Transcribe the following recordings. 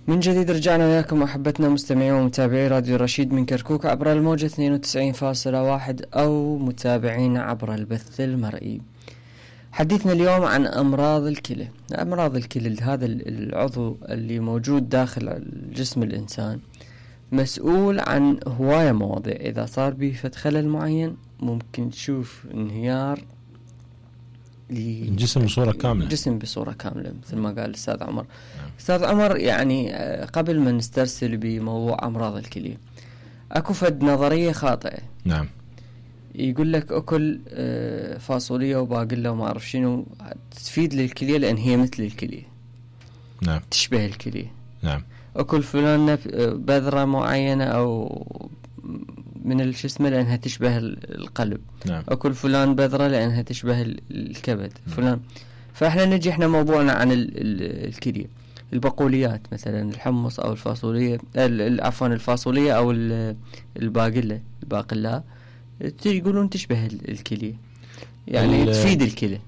من جديد رجعنا وياكم أحبتنا مستمعي ومتابعي راديو رشيد من كركوك عبر الموجة 92.1 أو متابعين عبر البث المرئي. حديثنا اليوم عن أمراض الكلى. أمراض الكلى هذا العضو اللي موجود داخل جسم الإنسان مسؤول عن هواية مواضيع. إذا صار به فد خلل معين ممكن تشوف انهيار الجسم بصورة كاملة، الجسم بصورة كاملة مثل ما قال الأستاذ عمر. أستاذ عمر، يعني قبل ما نسترسل بموضوع أمراض الكلى أكو فد نظرية خاطئة. نعم. يقول لك أكل فاصوليا وباقلة وما أعرف شنو تفيد للكلى لأن هي مثل الكلى. نعم. تشبه الكلى. نعم. أكل فلان بذرة معينة أو من الجسم لأنها تشبه القلب. نعم. أكل فلان بذرة لأنها تشبه الكبد. فلان. فإحنا نجي إحنا موضوعنا عن الكلى. البقوليات مثلا الحمص أو الفاصولية، عفوا الفاصولية أو الباقلة يقولون تشبه الكلى، يعني تفيد الكلى.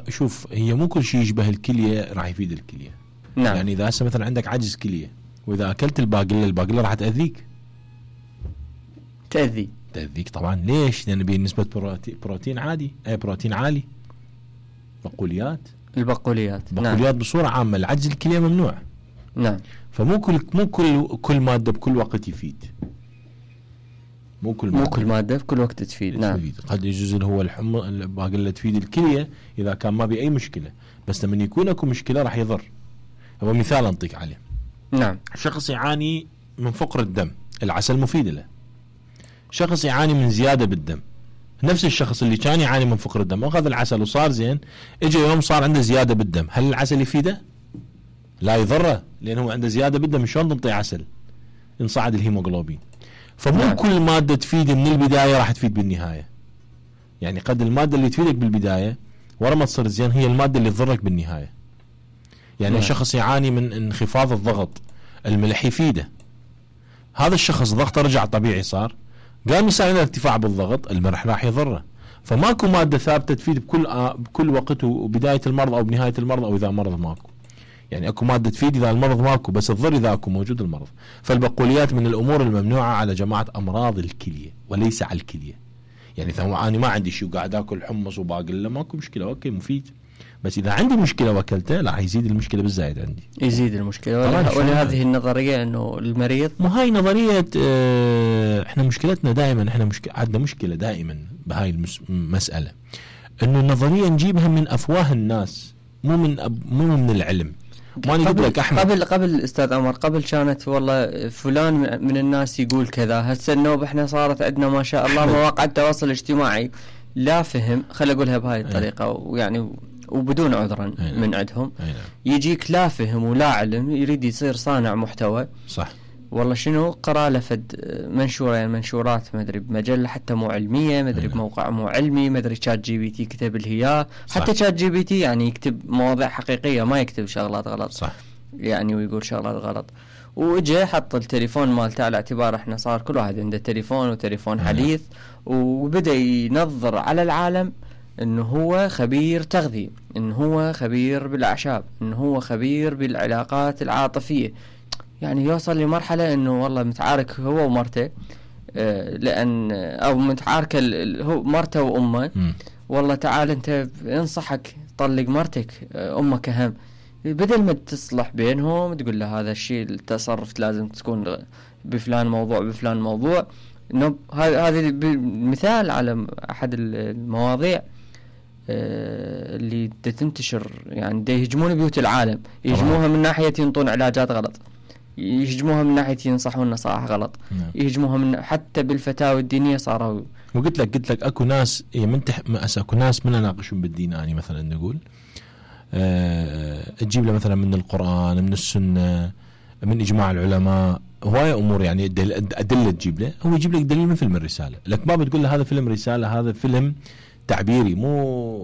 شوف، هي مو كل شيء يشبه الكلية راح يفيد الكلية. نعم. يعني إذا هسه مثلا عندك عجز كلية وإذا أكلت الباقلة راح تأذيك. تأذيك طبعا. ليش؟ لأن بنسبة بروتين عادي، بروتين عالي. البقوليات نعم. بصورة عامة العجز الكلية ممنوع. نعم. فمو كل مادة بكل وقت يفيد. مو كل مادة بكل وقت تفيد. نعم. قد يجوز هو الباقلة تفيد الكلية إذا كان ما بأي مشكلة، بس لما يكون اكو مشكلة راح يضر. هو مثال أنطيك عليه. نعم. شخص يعاني من فقر الدم، العسل مفيد له. شخص يعاني من زيادة بالدم، نفس الشخص اللي كان يعاني من فقر الدم أخذ العسل وصار زين، اجى يوم صار عنده زيادة بالدم، هل العسل يفيده؟ لا، يضره، لأنه عنده زيادة بالدم. شلون تنطي عسل؟ ينصعد الهيموغلوبين. فمو نعم. كل مادة تفيد من البداية راح تفيد بالنهاية. يعني قد المادة اللي تفيدك بالبداية ورا ما تصير زين هي المادة اللي تضرك بالنهاية. يعني نعم. شخص يعاني من انخفاض الضغط، الملح يفيده. هذا الشخص ضغطه رجع طبيعي، صار قام يصير عنده ارتفاع بالضغط، الملح راح يضره. فماكو مادة ثابتة تفيد بكل وقت، وبداية المرض أو بنهاية المرض أو إذا مرض ماكو. يعني اكو مادة تفيد إذا المرض ماكو، بس تضر إذا اكو موجود المرض. فالبقوليات من الأمور الممنوعة على جماعة أمراض الكلية وليس على الكلية. يعني إذا أنا ما عندي شيء وقاعد أكل حمص وباقلة ماكو مشكلة، أوكي مفيد. بس إذا عندي مشكلة وأكلته لا، يزيد المشكلة بالزايد عندي. يزيد المشكلة. ولهذه النظرية إنه المريض، مو هاي نظرية. إحنا مشكلتنا دائما، إحنا عندنا مشكلة دائما بهاي المسألة، إنه النظرية نجيبها من أفواه الناس، مو من العلم. ما نقول لك أحمد قبل أستاذ عمر، قبل كانت والله فلان من الناس يقول كذا. هسه النوب إحنا صارت عندنا ما شاء الله مواقع التواصل الاجتماعي. لا فهم، خلي أقولها بهاي الطريقة ويعني وبدون عذرا من عندهم. يجيك لا فهم ولا علم، يريد يصير صانع محتوى. صح. والله شنو قرأ لفد منشورة، يعني منشورات ما أدري بمجلة حتى مو علمية، ما أدري بموقع مو علمي، ما أدري شات جي بي تي كتب الهيا. حتى شات جي بي تي يعني يكتب مواضيع حقيقية، ما يكتب شغلات غلط. صح. يعني ويقول شغلات غلط. وإجا حط التليفون مالته على اعتبار احنا صار كل واحد عنده تليفون وتليفون حديث، وبدأ ينظر على العالم انه هو خبير تغذية، انه هو خبير بالأعشاب، انه هو خبير بالعلاقات العاطفية. يعني يوصل لمرحلة انه والله متعارك هو ومرته، لان او متعاركة هو مرته وامه. والله تعال انت انصحك طلق مرتك، امك اهم. بدل ما تصلح بينهم تقول له هذا الشيء التصرف لازم تكون بفلان موضوع. انه هذا مثال على احد المواضيع اللي تنتشر، يعني يهجمون بيوت العالم، يهجموها من ناحية ينطون علاجات غلط، يهجموها من ناحية ينصحون نصائح غلط. يهجموها من حتى بالفتاوى الدينية صاروا. وقلت لك اكو ناس اكو ناس من يناقشون بالدين. يعني مثلا نقول تجيب له مثلا من القرآن، من السنة، من إجماع العلماء، هواية أمور يعني أدلة تجيب له. هو يجيب لك دليل من فيلم الرسالة، لك ما بتقول له هذا فيلم رسالة، هذا فيلم تعبيري مو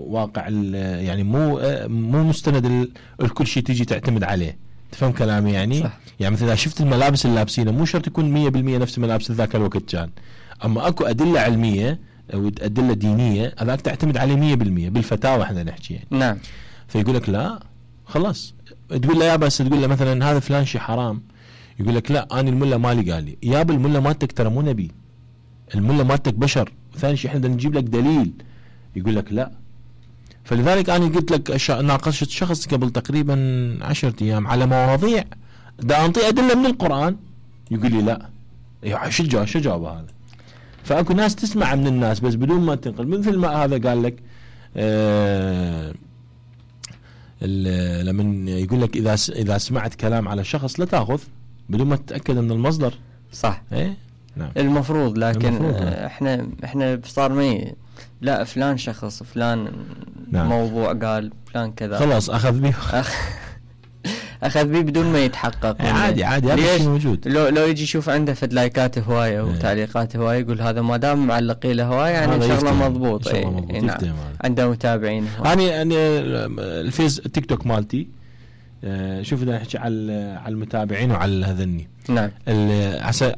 واقع، يعني مو مستند الكل شيء تيجي تعتمد عليه. تفهم كلامي يعني؟ صح. يعني مثلا شفت الملابس اللي لابسينها مو شرط يكون 100% نفس الملابس ذاك الوقت كان، أما أكو أدلة علمية أو أدلة دينية هذاك تعتمد عليه 100% بالفتاوى احنا نحكي يعني. نعم. فيقول لك لا خلاص، تقول له يا بس تقول له مثلا هذا فلان شيء حرام، يقول لك لا انا الملا مالي قال لي، يا الملا مالتك ترى مو نبي، الملا مالتك بشر، وثاني شيء احنا بدنا نجيب لك دليل. يقول لك لا. فلذلك انا قلت لك ناقشت شخص قبل تقريبا 10 ايام على مواضيع دا انطي ادله من القران، يقول لي لا. شو جواب هذا؟ فاكو ناس تسمع من الناس بس بدون ما تنقل، مثل ما هذا قال لك لما يقول لك اذا سمعت كلام على شخص لا تاخذ بدون ما تتاكد من المصدر. صح. ايه نعم. المفروض، لكن المفروض. احنا صار لا فلان شخص فلان نعم. موضوع قال فلان كذا، خلاص اخذ به اخذ به بدون ما يتحقق. عادي هذا الشيء موجود. لو يجي يشوف عنده فد لايكات هوايه وتعليقات هوايه، يقول هذا ما دام معلقين له هوايه يعني ان شاء الله مضبوط. نعم. عنده متابعين. انا الفيس التيك توك مالتي شوف بدنا نحكي على المتابعين وعلى هذني. نعم.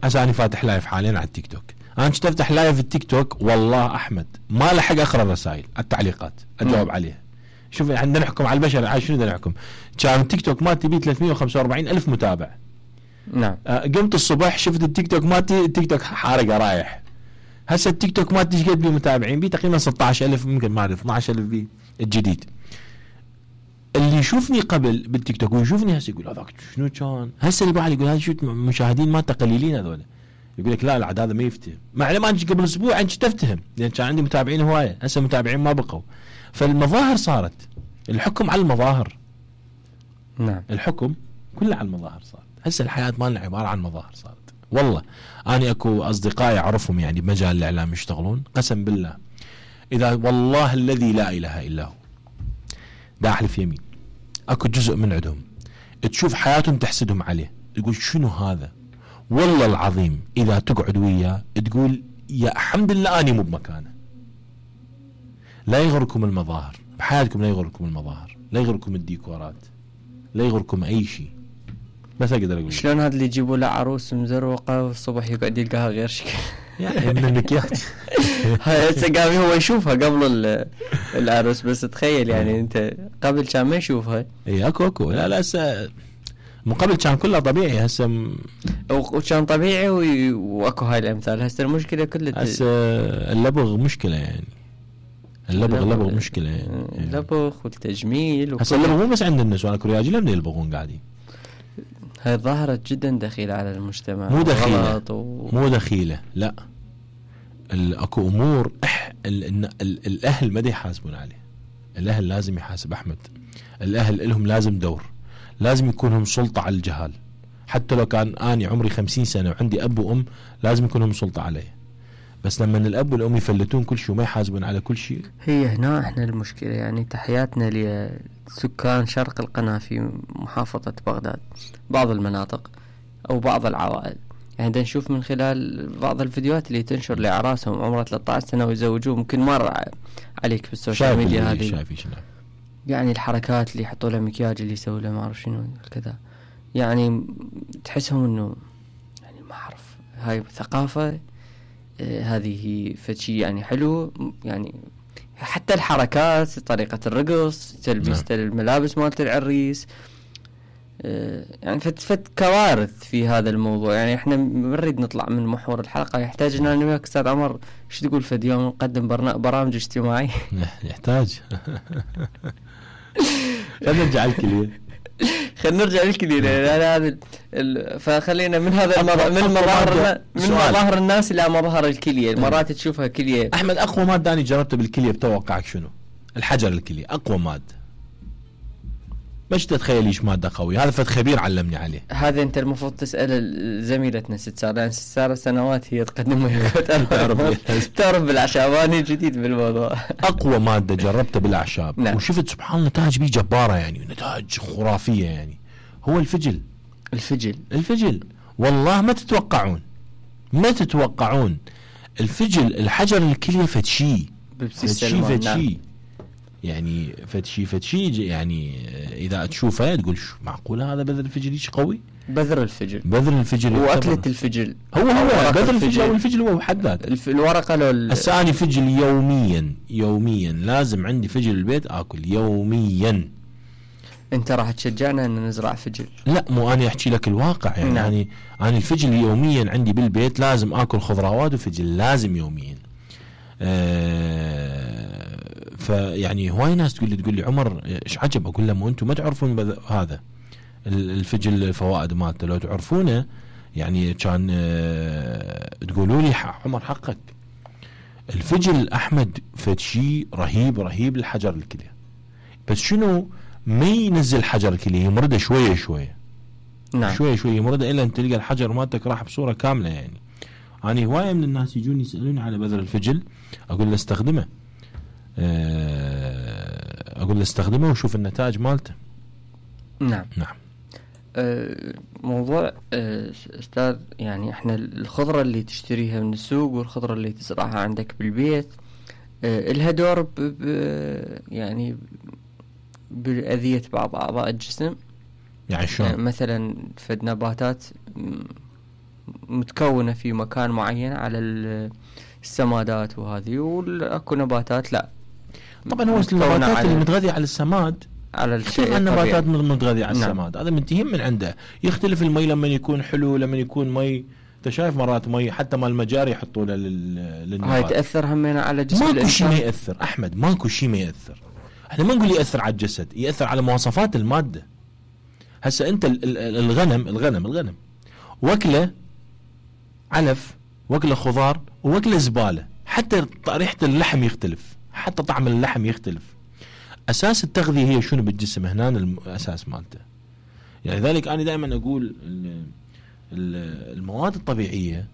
عسى انا فاتح لايف حاليا على التيك توك. انا كنت افتح لايف التيك توك والله احمد ما لحق اقرا الرسائل التعليقات اجاوب عليها. شوف عندنا نحكم على البشر، شنو بدنا نحكم؟ كان التيك توك مالتي بيه 345 الف متابع. نعم. قمت الصبح شفت التيك توك مالتي، التيك توك حارقه رايح. هسه التيك توك مالتي ايش قد بيه متابعين؟ بيه تقريبا 16000 ممكن ما اعرف 12000 بيه الجديد. اللي يشوفني قبل بالتيك توك ويشوفني هسه يقول هذاك شنو كان؟ هسه اللي بعد يقول هذا شو مشاهدين مالته قليلين هذول. يقول لك لا العاد هذا ما يفتهم، مع ما قبل اسبوع انت تفتهم لان كان عندي متابعين هوايه، هسه متابعين ما بقوا. فالمظاهر صارت، الحكم على المظاهر. نعم. الحكم كله على المظاهر صارت. هسه الحياه مالنا عباره عن مظاهر صارت. والله انا اكو اصدقائي اعرفهم يعني بمجال الاعلام يشتغلون، قسم بالله اذا والله الذي لا اله الا هو دا احلف يمين اكو جزء من عندهم تشوف حياتهم تحسدهم عليه، تقول شنو هذا؟ والله العظيم اذا تقعد وياه تقول يا الحمد لله اني مو بمكانه. لا يغركم المظاهر بحياتكم، لا يغركم المظاهر، لا يغركم الديكورات، لا يغركم اي شيء. بس اقدر اقول شلون هذا اللي يجيبوا له عروس مزروقه والصبح يقعد يلقاها غير شكل يعني من المكياج. هاي هسه قام هو يشوفها قبل العروس، بس تخيل يعني انت قبل كان ما يشوفها. اي اكو لا هسه من قبل كان كله طبيعي، هسه وكان طبيعي واكو هاي الامثال. هسه المشكله كلها هسه اللبغ مشكله يعني، اللبغ مشكله يعني. اللبغ والتجميل هسه اللبغ مو بس عند النسوان، اكو رجال من يلبغون قاعدين. هاي ظاهرة جدا دخيلة على المجتمع. مو دخيلة مو دخيلة لا، اكو امور الاهل ما يحاسبون عليه. الاهل لازم يحاسب احمد، الاهل لهم لازم دور، لازم يكون لهم سلطة على الجهال. حتى لو كان اني عمري 50 سنة وعندي اب وام لازم يكون لهم سلطة عليه. بس لما الاب والام يفلتون كل شيء وما يحاسبون على كل شيء، هي هنا احنا المشكلة. يعني تحياتنا لسكان شرق القناة في محافظة بغداد، بعض المناطق او بعض العوائل. يعني دا نشوف من خلال بعض الفيديوهات اللي تنشر لأعراسهم عمره 13 سنة ويزوجوه، ممكن مر عليك في السوشيال ميديا هذه. يعني الحركات اللي يحطوا له مكياج، اللي يسوي له ما اعرف شنو كذا، يعني تحسهم انه يعني ما اعرف هاي ثقافة. هذه فشي يعني حلو. يعني حتى الحركات، طريقة الرقص، تلبيس الملابس مالت العريس، يعني فت كوارث في هذا الموضوع. يعني احنا نريد نطلع من محور الحلقة، يحتاج ان انا وياك استاذ عمر شو تقول في يوم نقدم برامج اجتماعي. يحتاج. خلينا نرجع الكلية. خلينا نرجع للكلية. هذا فخلينا من هذا من مظاهر الناس الى مظاهر الكلية. مرات تشوفها كلية. احمد اقوى مادة اني جربتها بالكلية بتوقعك شنو؟ الحجر الكلية اقوى مادة. مش تتخيل ايش مادة قوية، هذا فد خبير علمني عليه. هذا انت المفروض تسأل زميلتنا ست سارة، لان ست سارة سنوات هي تقدم تعرف بالاعشاب. انا جديد بالموضوع. اقوى مادة جربتها بالاعشاب. نعم. وشفت سبحان الله نتائج بيه جبارة، يعني نتائج خرافية. يعني هو الفجل والله ما تتوقعون الفجل. الحجر الكلية فتشي يعني فتشي يعني اذا تشوفه تقول شو معقوله هذا بذر الفجل ايش قوي. بذر الفجل واكله الفجل هو بذر الفجل او الفجل هو بحد ذاته. الورقه لو الثاني فجل يوميا لازم عندي فجل البيت اكل يوميا. انت راح تشجعنا ان نزرع فجل؟ لا، مو انا احكي لك الواقع يعني. نعم. انا الفجل يوميا عندي بالبيت لازم اكل خضروات وفجل لازم يوميا. فيعني هواي ناس تقول لي عمر ايش عجب، اقول لهم انتم ما تعرفون هذا الفجل الفوائد مالته، لو تعرفونه يعني كان تقولوا لي عمر حقك. الفجل احمد فد شيء رهيب رهيب للحجر الكليه، بس شنو ما ينزل حجر الكليه، يمرده شويه شويه. نعم. شويه شويه يمرده الا ان تلقى الحجر مالتك راح بصوره كامله يعني. انا هوايه من الناس يجوني يسالوني على بذر الفجل، اقول له استخدمه، اقول له استخدمه وشوف النتائج مالته. نعم. نعم. موضوع استاذ، يعني احنا الخضرة اللي تشتريها من السوق والخضرة اللي تزرعها عندك بالبيت لها دور يعني بأذية بعض أعضاء الجسم. يعني شلون؟ مثلا فد نباتات متكونة في مكان معين على السمادات وهذه، واكو نباتات لا. طبعا هو النباتات اللي متغذية على السماد، على الشيء النباتات متغذية على نعم. السماد، هذا منتهين من عنده. يختلف المي لما يكون حلو، لما يكون مي انت شايف مرات مي حتى مال المجاري يحطوا له للنبات، هاي تأثر همينة على جسم ماكو الإنسان. شيء ما يأثر احمد، ماكو شيء ما يأثر. احنا ما نقول يأثر على الجسد، يأثر على مواصفات المادة. هسه انت الغنم وكله علف، وكله خضار، وكله زبالة، حتى ريحة اللحم يختلف، حتى طعم اللحم يختلف. أساس التغذية هي شنو بالجسم، هنا الأساس مالته. يعني ذلك أنا دائما أقول المواد الطبيعية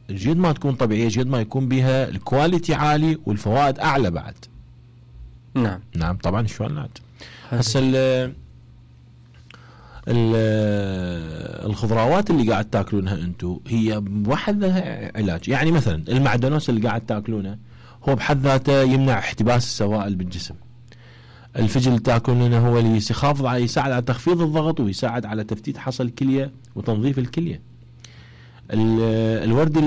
الجد ما تكون طبيعية، جد ما يكون بها الكواليتي عالي والفوائد أعلى بعد. نعم. نعم طبعا شلون لا. هسه الخضروات اللي قاعد تاكلونها انتم هي بحد ذاتها علاج. يعني مثلا المعدنوس اللي قاعد تاكلونه هو بحد ذاته يمنع احتباس السوائل بالجسم. الفجل اللي تاكلونه هو اللي يساعد على تخفيض الضغط، ويساعد على تفتيت حصى الكليه وتنظيف الكليه. الورد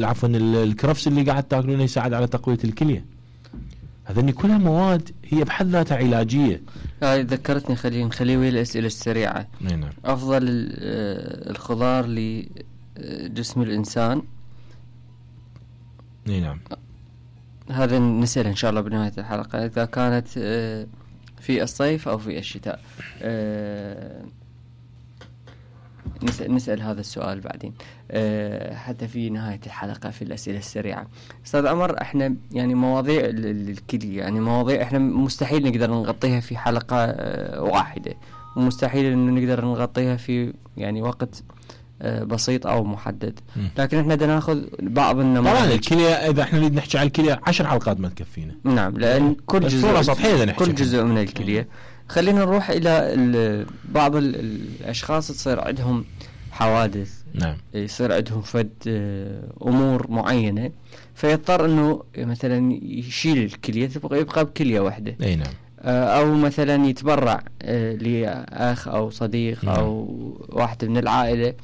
عفوا الكرفس اللي قاعد تاكلونه يساعد على تقويه الكليه. هذني كلها مواد هي بحد ذاتها علاجيه. هاي ذكرتني، نخلي ويا الأسئلة السريعة. نعم. أفضل الخضار لجسم الإنسان. نعم. هذا نسأل إن شاء الله بنهاية الحلقة، إذا كانت في الصيف أو في الشتاء. نسأل هذا السؤال بعدين حتى في نهاية الحلقة في الأسئلة السريعة. أستاذ عمر، احنا يعني مواضيع الكلية يعني مواضيع احنا مستحيل نقدر نغطيها في حلقة واحدة، ومستحيل انه نقدر نغطيها في يعني وقت بسيط او محدد، لكن احنا بدنا ناخذ بعض النماذج. طبعا الكلية اذا احنا نريد نحكي على الكلية 10 حلقات ما تكفينا. نعم، لان كل جزء من الكلية. خلينا نروح الى بعض الاشخاص تصير عندهم حوادث. نعم. يصير عندهم فد امور معينة، فيضطر انه مثلا يشيل الكلية، يبقى بكلية واحدة. اي نعم. او مثلا يتبرع لاخ او صديق او واحد من العائلة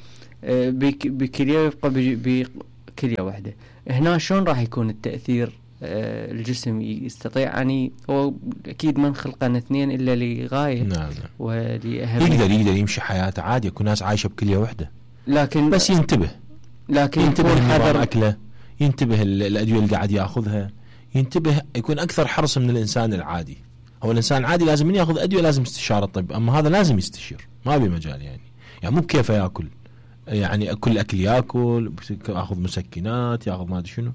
بكلية، يبقى بكلية واحدة. هنا شلون راح يكون التأثير؟ الجسم يستطيع يعني، هو اكيد ما خلقنا اثنين الا لغاية. نعم. ولأهمية. يقدر يمشي حياته عادي، يكون ناس عايشة بكلية واحدة، لكن بس ينتبه حذر أكله، ينتبه الأدوية اللي قاعد ياخذها، ينتبه، يكون أكثر حرص من الإنسان العادي. هو الإنسان العادي لازم من ياخذ أدوية لازم استشارة طب، أما هذا لازم يستشير، ما بمجال يعني مو بكيف ياكل، يعني كل أكل ياخذ مسكنات، ياخذ ما أدري شنو،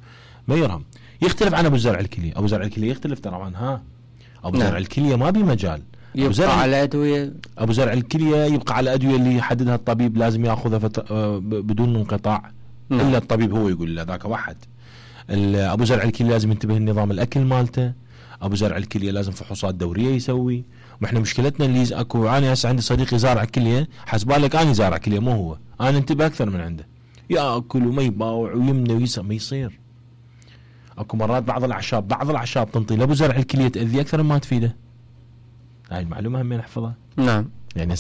ما يرهم. يختلف عن أبو زرع الكلية. أبو زرع الكلية يختلف طبعا. أبو زرع الكلية ما بمجال، يبقى على أدوية. أبو زرع الكلية يبقى على أدوية اللي يحددها الطبيب، لازم ياخذها بدون انقطاع. إلا الطبيب هو يقول له ذاك واحد. أبو زرع الكلية لازم ينتبه لنظام الأكل مالته. أبو زرع الكلية لازم فحوصات دورية يسوي. وإحنا مشكلتنا اللي أكو، أنا هسه عندي صديقي زارع كلية، حسبالك أنا زارع كلية مو هو، أنا انتبه أكثر من عنده، يأكل وما يباوع ويمنى ويسا، ما يصير. اكو مرات بعض الاعشاب تنطي لابو زرع الكليه تاذي اكثر ما تفيده. هاي المعلومه هم نحفظها. نعم. يعني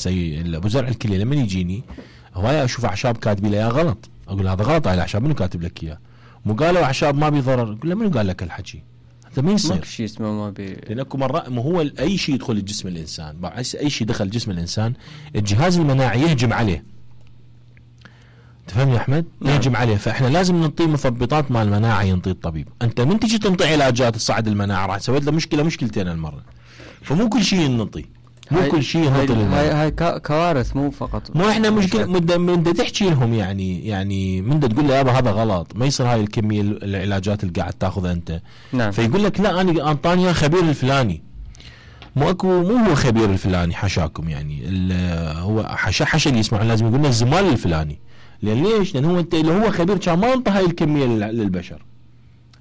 ابو زرع الكليه لما يجيني هوايه اشوف اعشاب كاتبين لي غلط، اقول هذا غلط، هاي الاعشاب منو كاتب لك اياه؟ مو قالوا اعشاب ما بيضرر، اقول له منو قال لك الحكي؟ هذا ما يصير. ماكو شيء اسمه ما بي. لان اكو مرات ما هو اي شيء يدخل جسم الانسان، اي شيء دخل جسم الانسان الجهاز المناعي يهجم عليه. تفهم يا احمد؟ يهجم عليه. فاحنا لازم ننطيه مثبطات مع المناعه ينطي الطبيب. انت من تجي تنطي علاجات تصعد المناعه راح تسوي له مشكلتين المره. فمو كل شيء ننطي، مو كل شيء ننطي للمرضى. هاي كوارث مو فقط. مو احنا مشكله من تحكي لهم يعني من تقول له يابا هذا غلط، ما يصير هاي الكميه العلاجات اللي قاعد تاخذها انت. نعم. فيقول لك لا انا انطاني خبير الفلاني. مو هو خبير الفلاني حاشاكم، يعني هو حاشا اللي يسمعون لازم يقول لنا الزمال الفلاني. لان ليش؟ لان هو انت لو هو خبير كان ما انطى هاي الكميه للبشر.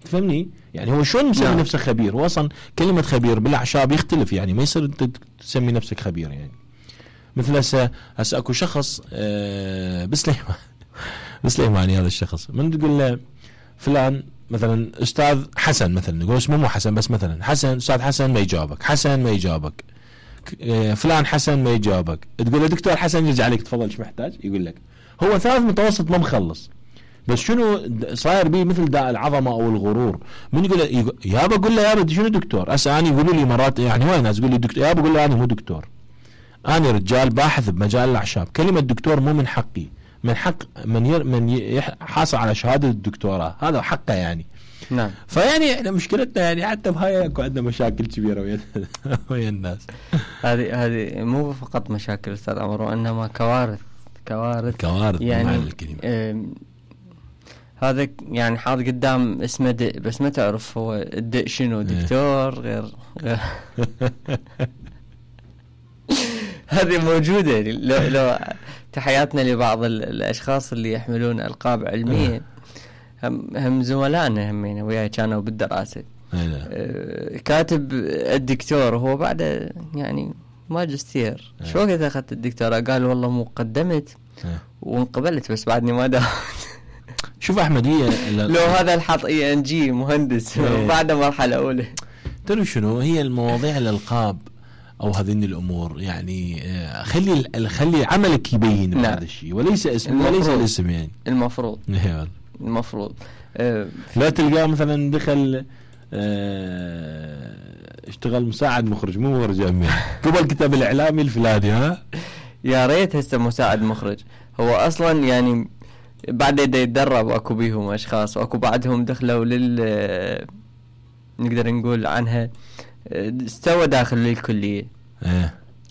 تفهمني؟ يعني هو شلون مسمي نفسه خبير؟ هو اصلا كلمه خبير بالاعشاب يختلف، يعني ما يصير انت تسمي نفسك خبير. يعني مثل هسه اكو شخص بسليماني هذا الشخص من تقول له فلان مثلا استاذ حسن، مثلا نقول اسمه مو حسن بس مثلا حسن، استاذ حسن ما يجاوبك، حسن ما يجاوبك، فلان حسن ما يجاوبك، تقول له دكتور حسن يرجع عليك تفضل ايش محتاج؟ يقول لك هو ثالث متوسط ما مخلص. بس شنو صاير بيه مثل داء العظمه او الغرور. من يقول يابا قول له يابا شنو دكتور؟ انا يقولوا لي مرات يعني وين ناس يقول لي دكتور، يابا قول له انا مو دكتور، انا رجال باحث بمجال الاعشاب. كلمه دكتور مو من حقي، من حق من حاصل على شهاده الدكتوراه، هذا حقه يعني. نعم. فيعني احنا مشكلتنا يعني حتى بهاي اكو عندنا مشاكل كبيره ويا الناس. هذه مو فقط مشاكل استاذ عمر، وانما كوارث يعني هذا يعني حاط قدام اسمه دق، بس ما تعرف هو الدق شنو. دكتور غير هذه موجودة. لو تحياتنا لبعض الأشخاص اللي يحملون ألقاب علمية، هم زملائنا همين وياي كانوا بالدراسة. كاتب الدكتور هو بعد يعني ماجستير. شو وقت أخذت الدكتوراه؟ قال والله مقدمت وانقبلت بس بعدني ما داومت. شوف أحمد، هي لو هذا الحط ENG مهندس بعد مرحلة أولى. ترى شنو هي المواضيع الألقاب أو هذين الأمور، يعني خلي عملك يبين بهذا الشيء وليس اسم، وليس الاسم. يعني المفروض لا تلقاه مثلا دخل اشتغل مساعد مخرج، مو مخرج أمين قبل الكتاب الإعلامي الفلاني. ها يا ريت هسه مساعد مخرج. هو أصلا يعني بعد يتدرب، اكو بيهم اشخاص واكو بعدهم دخلوا نقدر نقول عنها استوى داخل الكلية.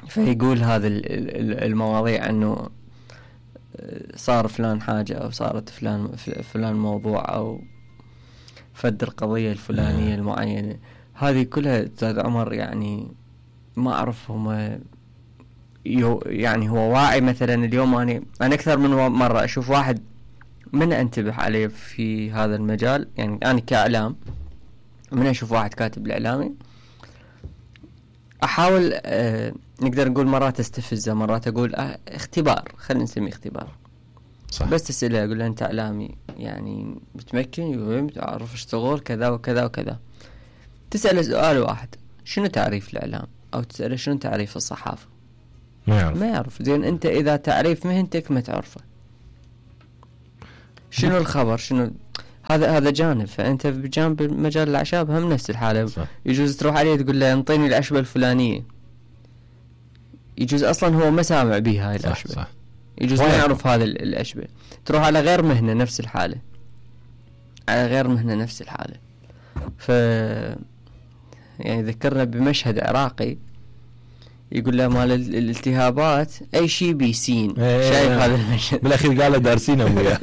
فيقول هذا المواضيع انه صار فلان حاجة او صارت فلان موضوع او فد القضية الفلانية المعينة. هذه كلها استاذ عمر يعني ما اعرف هم يعني هو واعي. مثلا اليوم انا اكثر من مرة اشوف واحد من انتبه عليه في هذا المجال. يعني انا كاعلام من اشوف واحد كاتب الاعلامي احاول نقدر نقول مرات استفزه، مرات اقول اختبار، خلينا نسميه اختبار. صح. بس تسأله اقول له انت اعلامي يعني متمكن، يقول تعرف اشتغل كذا وكذا وكذا. تسأله سؤال واحد، شنو تعريف الاعلام؟ او تسأله شنو تعريف الصحافة؟ ما يعرف. زين انت اذا تعريف مهنتك ما تعرفه، شنو الخبر؟ شنو هذا جانب. فانت بجانب مجال الاعشاب هم نفس الحاله. صح. يجوز تروح عليه تقول له انطيني العشبه الفلانيه، يجوز اصلا هو ما سامع بها هاي العشبه. صح. يجوز ما يعرف هذا العشبه. تروح على غير مهنه نفس الحاله، ف يعني ذكرنا بمشهد عراقي يقول له مال الالتهابات اي شيء بيسين. شايف هذا المشهد؟ بالاخير قال له دارسين ابويا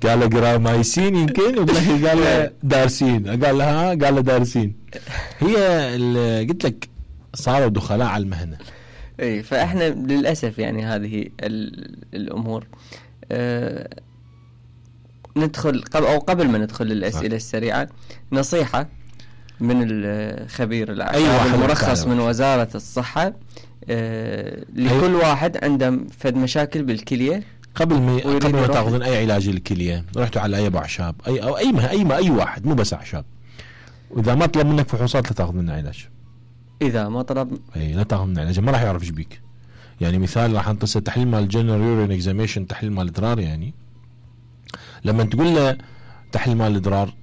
قال له جرامايسين يمكن، وبالاخير قال له دارسين. قال له قال له دارسين. هي اللي قلت لك صاروا دخلاء على المهنه. اي فاحنا للاسف يعني هذه الامور. ندخل قبل ما ندخل للاسئله السريعه، نصيحه من الخبير العام المرخص من وزارة الصحة لكل واحد عنده فد مشاكل بالكلية. قبل ما تاخذون اي علاج للكلية رحتوا على اي ابو اعشاب اي واحد، مو بس اعشاب، واذا ما طلب منك فحوصات لا تاخذ منه علاج. اذا ما طلب لا تاخذ منه علاج، ما راح يعرف ايش بيك. يعني مثال راح نتصل تحليل مال جنرال يورين اكزاميشن، تحليل مال ادرار. يعني لما تقول له تحليل مال ادرار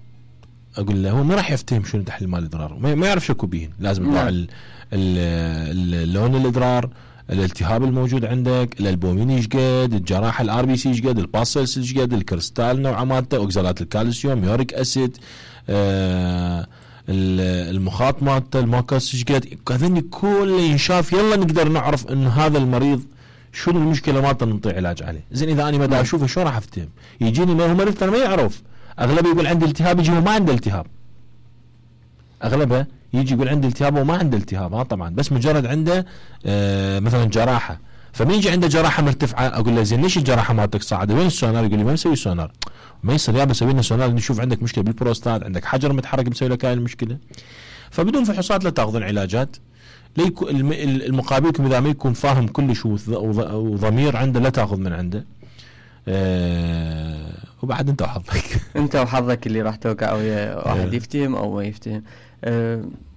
اقول له هو ما راح يفتهم شنو تحليل مال الادرار، ما يعرف شكو بيهن. لازم يطلع اللون الادرار، الالتهاب الموجود عندك، الالبومين ايش قد، الجراحه الار بي سي ايش قد، الباسلز ايش قد، الكريستال نوعه مالته، اوكزالات الكالسيوم، يوريك اسيد، المخاط مالته، الماكس ايش قد. هذني كله ينشاف، يلا نقدر نعرف انه هذا المريض شنو المشكله مالته نعطي علاج عليه. زين اذا انا ما دا اشوفه شلون راح افتهم؟ يجيني ما هو مريض انا ما يعرف، اغلبه يقول عندي التهاب، يجي هو ما عنده التهاب، اغلبه يجي يقول عندي التهاب وما عنده التهاب. طبعا بس مجرد عنده مثلا جراحه، فمن يجي عنده جراحه مرتفعه اقول له زين ليش الجراحه مالتك صاعده؟ وين السونار؟ يقول لي ما مسوي سونار. ما يصير يا بسوي لنا سونار نشوف عندك مشكله بالبروستات، عندك حجر متحرك مسوي لك هاي المشكله. فبدون فحوصات لا تاخذون علاجات. المقابلكم اذا ما يكون فاهم كلش وضمير عنده لا تاخذ من عنده. وبعد انت وحظك انت وحظك اللي راح توقع ويا واحد يفتهم او ما يفتهم.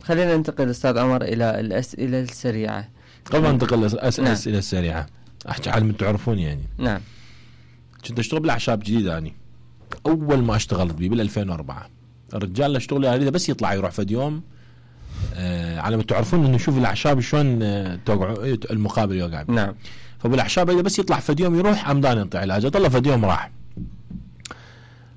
خلينا ننتقل استاذ عمر الى الاسئله السريعه. قبل ما ننتقل الاسئله السريعه احكي عالم تعرفون يعني. نعم. كنت اشتغل بالاعشاب جديد اني اول ما اشتغلت بيه بال 2004. الرجال اللي اشتغل عليه بس يطلع يروح فد يوم على ما تعرفون انه شوف الاعشاب شلون توقعوا المقابل يوقع. نعم. فبالاعشاب اذا بس يطلع فد يوم يروح عمدان ينطي علاج، طلع فد يوم راح.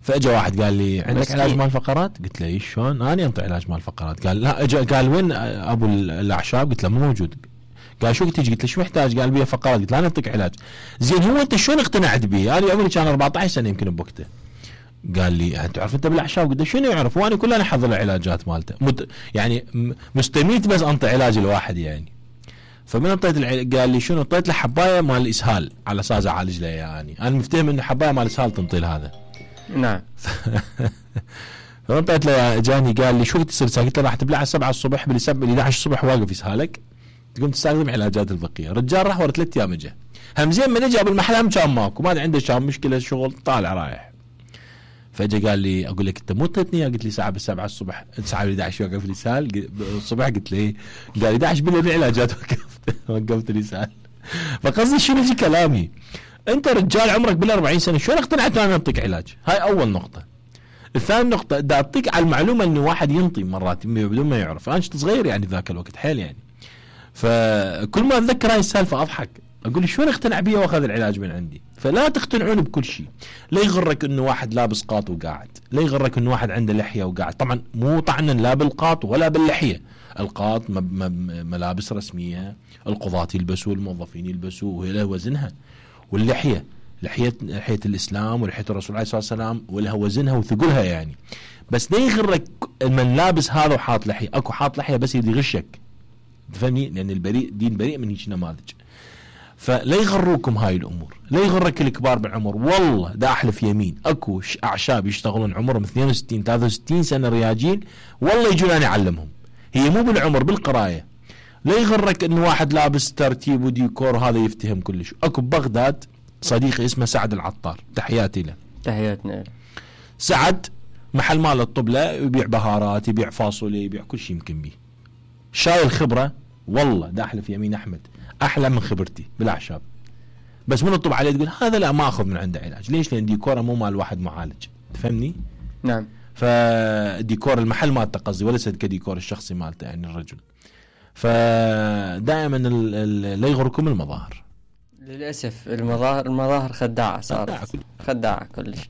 فاجا واحد قال لي عندك علاج مال فقرات؟ قلت له ايش شلون؟ انا انطي علاج مال فقرات. قال لا. اجا قال وين ابو الاعشاب؟ قلت له مو موجود. قال شو تجي؟ قلت له شو محتاج؟ قال بيه فقرات. قلت له انا اعطيك علاج. زين هو انت شلون اقتنعت به؟ انا عمري كان 14 سنه يمكن بوقته. قال لي تعرف انت بالاعشاب؟ قلت له شنو يعرف؟ وانا كلنا حظ العلاجات مالته يعني مستميت بس انطي علاج الواحد يعني. فمن اعطيت قال لي شنو؟ اعطيت له حبايه مال الاسهال على اساس اعالج له يعني. انا مفتهم انه حبايه مال الاسهال تنطي له هذا. نعم. فانطيت له جاني قال لي شو تصير؟ قلت له راح تبلع 7 الصبح بال 11 الصبح واقف يسهالك تقوم تستخدم علاجات البقيه. الرجال راح ورا 3 ايام اجى. هم زين من اجى بالمحل كان ماكو، ما عنده شام مشكله شغل طالع رايح. فاجا قال لي اقول لك انت مو اعطيتني؟ قلت لي ساعه بالسبعة الصبح، ساعه 11 يوقف الاسهال الصبح. قلت له قال 11 بالليل العلاجات وقفت الاسهال. فقصدي شنو يجي كلامي؟ انت رجال عمرك بال40 سنه شلون اقتنعت انا اعطيك علاج؟ هاي اول نقطه. الثاني نقطه دا اعطيك على المعلومه انه واحد ينطي مرات بدون ما يعرف. انا كنت صغير يعني ذاك الوقت حيل يعني. فكل ما اتذكر هاي السالفه اضحك، اقول شلون اقتنع بيه واخذ العلاج من عندي. فلا تقتنعون بكل شيء. لا يغرك انه واحد لابس قاط وقاعد، لا يغرك انه واحد عنده لحيه وقاعد. طبعا مو طعنا لا بالقاط ولا باللحيه. القاط ملابس رسميه، القضاة يلبسوا، الموظفين يلبسوا، وهي لها وزنها. واللحيه لحيه الاسلام ولحيه الرسول عليه الصلاه والسلام ولها وزنها وثقلها يعني. بس لا يغرك من لابس هذا وحاط لحيه. اكو حاط لحيه بس يريد يغشك، تفهمني؟ لان البريء دين بريء من هيك نماذج. فلا يغروكم هاي الامور، لا يغرك الكبار بالعمر. والله دا احلف يمين اكو اعشاب يشتغلون عمرهم 62 63 سنه رياجين، والله يجون انا اعلمهم. هي مو بالعمر بالقرايه. لا يغرك انه واحد لابس ترتيب وديكور هذا يفتهم كلش. اكو ببغداد صديقي اسمه سعد العطار، تحياتي له. تحياتنا له. سعد محل مال الطبله، يبيع بهارات، يبيع فاصوليا، يبيع كل شيء يمكن به. شايل خبره والله دا احلف يمين احمد احلى من خبرتي بالاعشاب. بس من الطب عليه تقول هذا لا ما اخذ من عنده علاج. ليش؟ لان ديكوره مو مال واحد معالج، تفهمني؟ نعم. فديكور المحل مالته قصدي وليس كديكور الشخصي مالته يعني الرجل. فدائما لا يغركم المظاهر. للاسف المظاهر خداعه صارت، خداعه كلش.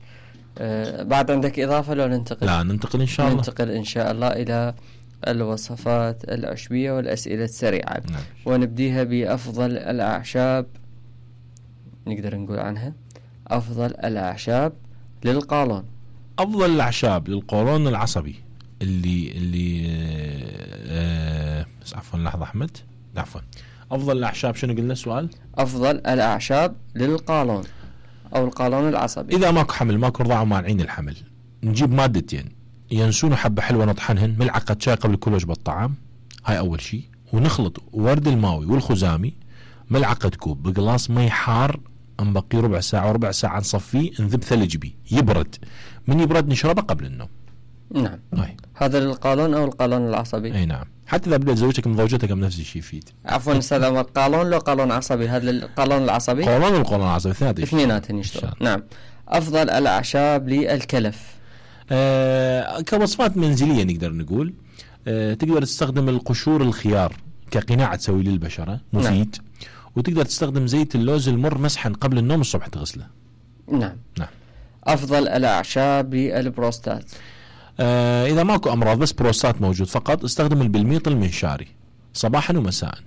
بعد عندك اضافه لو ننتقل؟ لا ننتقل ان شاء الله. ننتقل ان شاء الله الى الوصفات العشبية والأسئلة السريعة. نعم. ونبديها بأفضل الأعشاب، نقدر نقول عنها أفضل الأعشاب للقولون. أفضل الأعشاب للقولون العصبي اللي عفوا لحظة أحمد، عفوا. أفضل الأعشاب شنو قلنا السؤال؟ أفضل الأعشاب للقولون أو القولون العصبي. إذا ماكو حمل ماكو رضاعة ومانعين الحمل، نجيب مادتين ينسون حبة حلوة نطحنهن، ملعقة شاي قبل كل وجبة طعام، هاي أول شيء. ونخلط ورد الماوي والخزامي ملعقة كوب بقلاص مي حار، نبقي ربع ساعة وربع ساعة نصفيه، نذب ثلج بيه يبرد، من يبرد نشربه قبل النوم. نعم. هذا للقولون أو القولون العصبي؟ أي نعم. حتى إذا بدأت زوجتك من زوجتك من نفس الشيء يفيد. عفوا أستاذ عمر، قولون لو قولون عصبي؟ هذا القولون العصبي؟ قولون والقولون العصبي اثنيناتهم يشتغل. نعم. أفضل الأعشاب للكلف؟ كوصفات منزلية نقدر نقول تقدر تستخدم القشور الخيار كقناع تسوي للبشرة مفيد. وتقدر تستخدم زيت اللوز المر مسحا قبل النوم الصبح تغسله. نعم. أفضل الأعشاب للبروستات. إذا ماكو أمراض بس بروستات موجود فقط استخدم البلميط المنشاري صباحا ومساء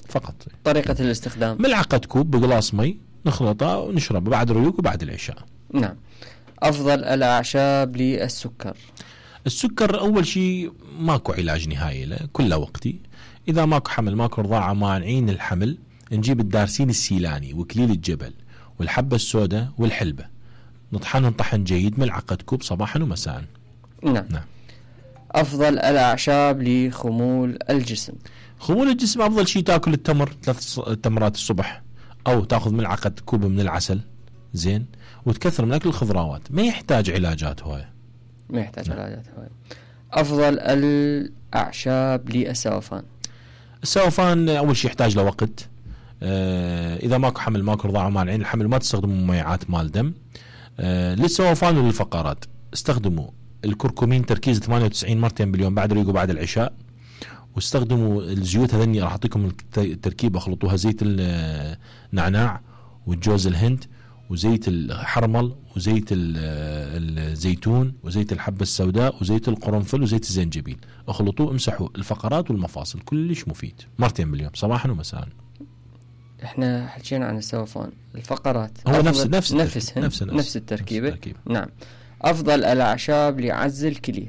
فقط. طريقة الاستخدام: ملعقة كوب بقلاص مي نخلطه ونشربه بعد الريوق وبعد العشاء. نعم. أفضل الأعشاب للسكر. السكر أول شيء ماكو علاج نهائي له، كله وقتي. إذا ماكو حمل ماكو رضاعة مانعين الحمل، نجيب الدارسين السيلاني وكليل الجبل والحبة السوداء والحلبة نطحنهم طحن جيد ملعقة كوب صباحا ومساء. نعم. أفضل الأعشاب لخمول الجسم. خمول الجسم أفضل شيء تأكل التمر 3 تمرات الصبح، أو تأخذ ملعقة كوب من العسل زين، وتكثر من أكل الخضروات. ما يحتاج علاجات هواية. أفضل الأعشاب للسوفان. السوفان أول شيء يحتاج له وقت. إذا ماكو حمل ماكو رضاعة مانعين الحمل ما تستخدموا مميعات مال دم. للسوفان وللفقرات استخدموا الكركمين تركيز 98 مرتين باليوم بعد الريق وبعد العشاء. واستخدموا الزيوت هذني راح أعطيكم التركيبة، اخلطوها زيت النعناع والجوز الهند وزيت الحرمل وزيت الزيتون وزيت الحبة السوداء وزيت القرنفل وزيت الزنجبيل، اخلطوه امسحوا الفقرات والمفاصل، كلش مفيد مرتين باليوم صباحا ومساء. احنا حكينا عن السوفان، الفقرات هو نفس التركيبة. نعم. أفضل الأعشاب لعز الكلية.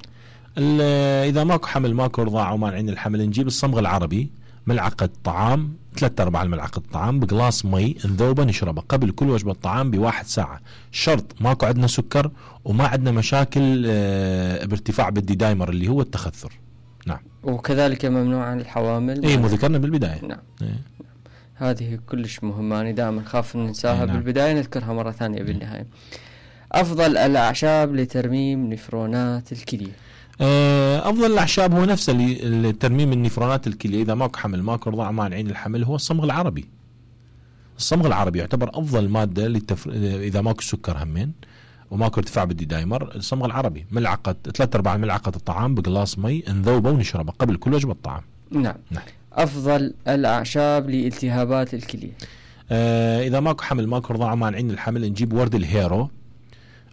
إذا ماكو حمل ماكو رضاعة ومانعين الحمل نجيب الصمغ العربي ملعقة طعام 3/4 الملعقة طعام بقلاص مي نذوبه نشربه قبل كل وجبة طعام ب1 ساعة. شرط ماكو عندنا سكر وما عندنا مشاكل بارتفاع بالدي دايمر اللي هو التخثر. نعم. وكذلك ممنوع عن الحوامل. مو ذكرنا بالبداية. نعم. هذه كلش مهمة، أنا دائما خاف ننساها. نعم. بالبداية نذكرها مرة ثانية بالنهاية. أفضل الأعشاب لترميم نفرونات الكلية. أفضل الأعشاب هو نفسه لترميم النفرونات الكلية. إذا ماكو حمل ماكو رضاعة مانعين الحمل هو الصمغ العربي. الصمغ العربي يعتبر أفضل مادة إذا ماكو سكر همين وماكو ارتفاع بالدي دايمر. الصمغ العربي ملعقة 3/4 ملعقة الطعام بقلاص مي نذوبه ونشربه قبل كل وجبة طعام. نعم. أفضل الأعشاب لالتهابات الكلية. إذا ماكو حمل ماكو رضاعة مانعين الحمل نجيب ورد الهيرو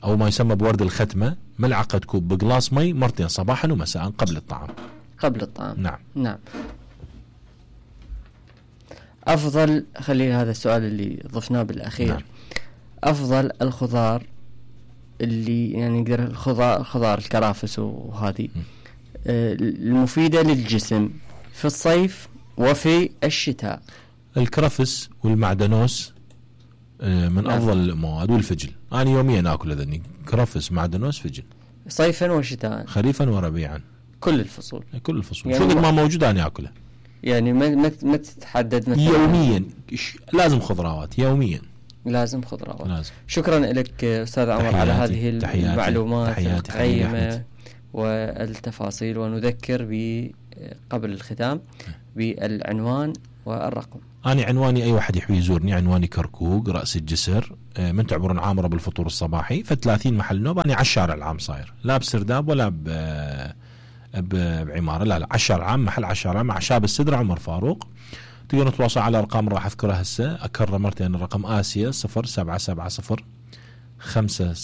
أو ما يسمى بورد الختمة ملعقة كوب بقلاص مي مرتين صباحا ومساء قبل الطعام. نعم. أفضل خلي هذا السؤال اللي ضفناه بالأخير. نعم. أفضل الخضار اللي يعني نقدر الخضار الكرافس وهذه المفيدة للجسم في الصيف وفي الشتاء. الكرفس والمعدنوس من أفضل المواد والفجل. أنا يوميا أكل هذني كرفس معدنوس فجل صيفا وشتاء خريفا وربيعا كل الفصول يعني شو ما موجود أنا أكله. يعني ما تتحدد مثلا يوميا لازم خضروات يوميا لازم. شكرا لك أستاذ عمر على هذه المعلومات القيمة والتفاصيل. ونذكر قبل الختام بالعنوان والرقم. أنا عنواني أي واحد يحب يزورني عنواني كركوك رأس الجسر من تعبرون عامرة بالفطور الصباحي ف30 محل نوب. أنا على الشارع العام صاير لا بسرداب ولا بعمارة لا على الشارع العام محل على الشارع مع شاب السدرة عمر فاروق. تقدرون تتواصلوا على أرقام راح أذكرها هسه أكرر مرتين. الرقم آسيا 0770 50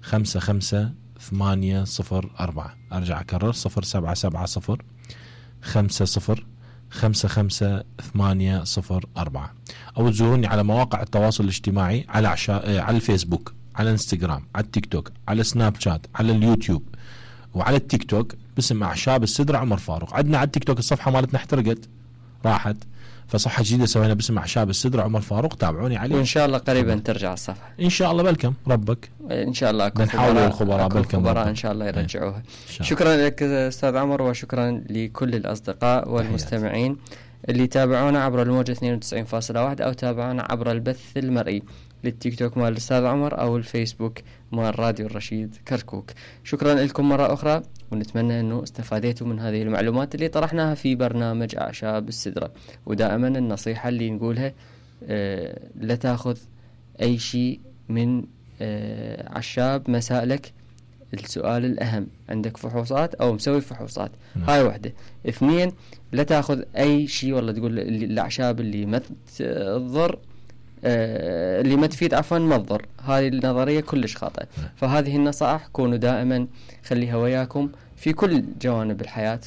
55 804. أرجع أكرر 0770 50 55 804. أو تزوروني على مواقع التواصل الاجتماعي على الفيسبوك على الانستغرام على التيك توك على سناب شات على اليوتيوب وعلى التيك توك باسم أعشاب السدرة عمر فاروق. عندنا على التيك توك الصفحة مالتنا احترقت راحت فصفحة جديدة سوينا باسم أعشاب السدرة عمر فاروق تابعوني عليه. وإن شاء الله قريبا ترجع الصفحة إن شاء الله. بالكم ربك إن شاء الله نحاول الخبراء بالكم إن شاء الله يرجعوها. شكرا لك أستاذ عمر وشكرا لكل الأصدقاء والمستمعين اللي تابعونا عبر الموجة 92.1 أو تابعونا عبر البث المرئي للتيك توك مال الأستاذ عمر أو الفيسبوك مال راديو الرشيد كركوك. شكرا لكم مرة أخرى ونتمنى أنه استفادتوا من هذه المعلومات اللي طرحناها في برنامج أعشاب السدرة. ودائما النصيحة اللي نقولها لا تأخذ أي شيء من عشاب مسائلك السؤال الأهم، عندك فحوصات أو مسوي فحوصات، هاي وحدة. 2، لا تأخذ أي شيء والله تقول الأعشاب اللي ما تضر اللي ما تفيد عفوا ما تضر، هذه النظرية كلش خاطئة. فهذه النصائح كونوا دائما خليها وياكم في كل جوانب الحياة.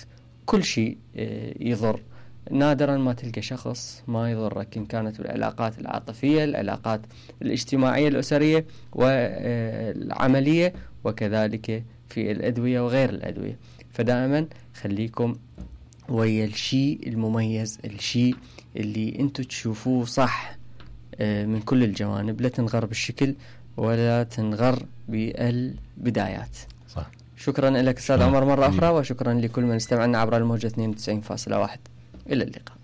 كل شيء يضر، نادرا ما تلقى شخص ما يضرك، إن كانت العلاقات العاطفية، العلاقات الاجتماعية الأسرية والعملية، وكذلك في الأدوية وغير الأدوية. فدائما خليكم ويا الشيء المميز، الشيء اللي انتو تشوفوه صح من كل الجوانب. لا تنغر بالشكل ولا تنغر بالبدايات. صح. شكرا لك أستاذ عمر مرة أخرى، وشكرا لكل من استمعنا عبر الموجة 92.1. إلى اللقاء.